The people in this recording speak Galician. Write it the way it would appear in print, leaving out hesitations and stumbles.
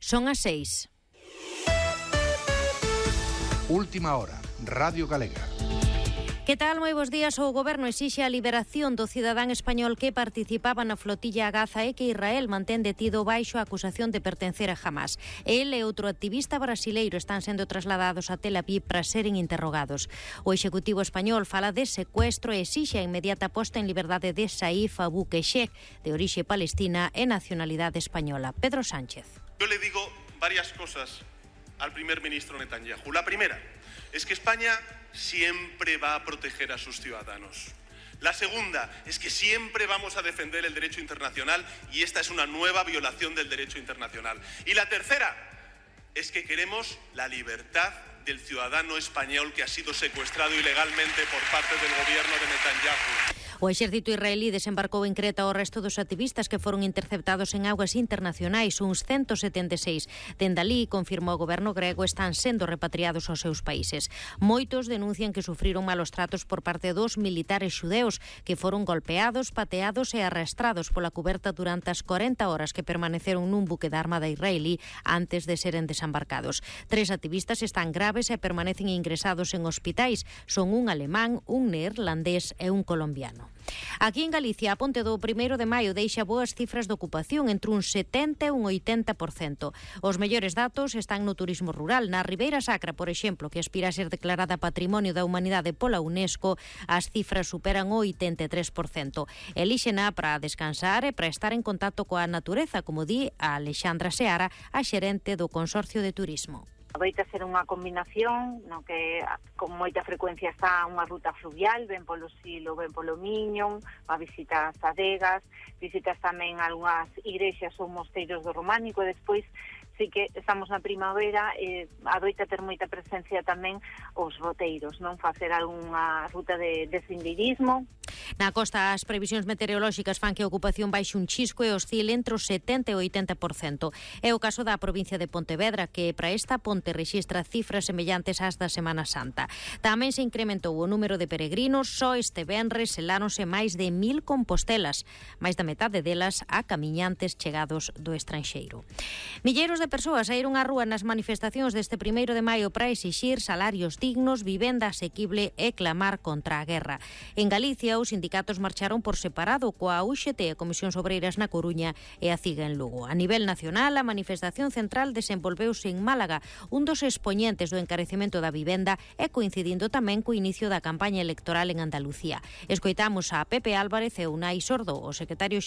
Son as 6. Última hora, Radio Galega. Que tal? Moi bons días. O Goberno exixe a liberación do cidadán español que participaba na flotilla a Gaza e que Israel mantén detido baixo a acusación de pertencer a Hamas. El e outro activista brasileiro están sendo trasladados a Tel Aviv para seren interrogados. O Executivo español fala de secuestro e exixe a inmediata posta en liberdade de Saif Abu-Keshek, de orixe palestina e nacionalidade española. Pedro Sánchez. Yo le digo varias cosas al primer ministro Netanyahu. La primera es que España siempre va a proteger a sus ciudadanos. La segunda es que siempre vamos a defender el derecho internacional y esta es una nueva violación del derecho internacional. Y la tercera es que queremos la libertad del ciudadano español que ha sido secuestrado ilegalmente por parte del gobierno de Netanyahu. O exército israelí desembarcou en Creta o resto dos activistas que foron interceptados en augas internacionais, uns 176. Dende alí, confirmou o goberno grego, están sendo repatriados aos seus países. Moitos denuncian que sufriron malos tratos por parte dos militares xudeus que foron golpeados, pateados e arrastrados pola cuberta durante as 40 horas que permaneceron nun buque da Armada israelí antes de seren desembarcados. 3 activistas están graves e permanecen ingresados en hospitais. Son un alemán, un neerlandés e un colombiano. Aquí en Galicia, a ponte do 1 de maio deixa boas cifras de ocupación entre un 70 e un 80%. Os mellores datos están no turismo rural. Na Ribeira Sacra, por exemplo, que aspira a ser declarada Patrimonio da Humanidade pola UNESCO, as cifras superan o 83%. Elíxena para descansar e para estar en contacto coa natureza, como di a Alexandra Seara, a xerente do Consorcio de Turismo. Adoita ser unha combinación no que con moita frecuencia está unha ruta fluvial, ben polo Silo, ben polo Miño, a visitas a Degas, visitas tamén algunhas igrexas ou mosteiros do Románico e despois sí que estamos na primavera e adoita ter moita presencia tamén os roteiros, non facer algunha ruta de sendeirismo. Na costa, as previsións meteorolóxicas fan que a ocupación baixe un chisco e oscile entre o 70 e o 80%. É o caso da provincia de Pontevedra, que para esta ponte rexistra cifras semellantes ás da Semana Santa. Tamén se incrementou o número de peregrinos, só este venres seláronse máis de 1000 compostelas, máis da metade delas a camiñantes chegados do estranxeiro. Milleiros de persoas saíron á rúa nas manifestacións deste 1 de maio para exixir salarios dignos, vivenda asequible e clamar contra a guerra. En Galicia, os sindicatos marcharon por separado coa UGT, a Comisións Obreiras na Coruña e a CIGA en Lugo. A nivel nacional, a manifestación central desenvolveuse en Málaga, un dos expoñentes do encarecemento da vivenda e coincidindo tamén co inicio da campaña electoral en Andalucía. Escoitamos a Pepe Álvarez e Unai Sordo, o secretario